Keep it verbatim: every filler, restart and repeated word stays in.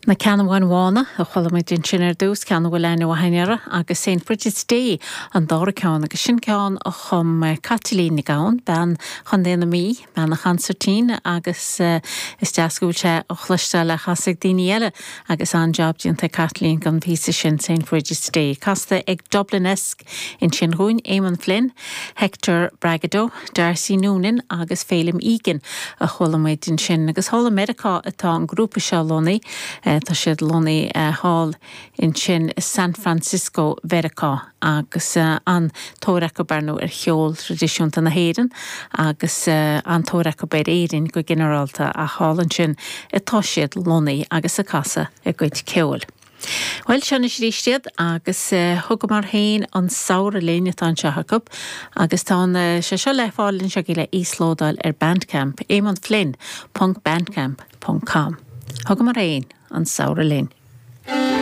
Na Ceannabháin Bhána a chuala muid ansin ar dtús ceann a bhfuil aithne mhaith againn air agus Saint Brigid's Day an dara ceann agus sin ceann a chum Caitlín Nic Gabhann bean Chontae na Mí bean an chansairtín agus uh, is deas go bhfuil sé á chloisteáil le casadh daoine eile agus an-jab déanta Caitlín gan phíosa sin Saint Brigid's Day. Casta ag Dublinesque ansin dúinn Eamon Flynn, Hector Bragado, Darcy Noonan agus Félim Egan a chuala muid ansin agus thall i Meiriceá atá an grúpa seo lonnaithe. Tá siad lonnaithe thall ansin San Francisco Mheiriceá agus uh, an-tóir acu ar ndóigh ar cheol traidisiúnta na hÉireann agus uh, an-tóir acu ar Éirinn go ginearálta a thall ansin atá siad lonnaithe agus ag casadh a gcuid ceoil. Well seo arís iad agus uh, thugamar féin an samhradh linn atá anseo acu agus tá uh, sé seo le fáil anseo le íoslódáil ar Bandcamp Eamon Flynn ponc bandcamp ponc com. Thugamar féin an samhradh linn.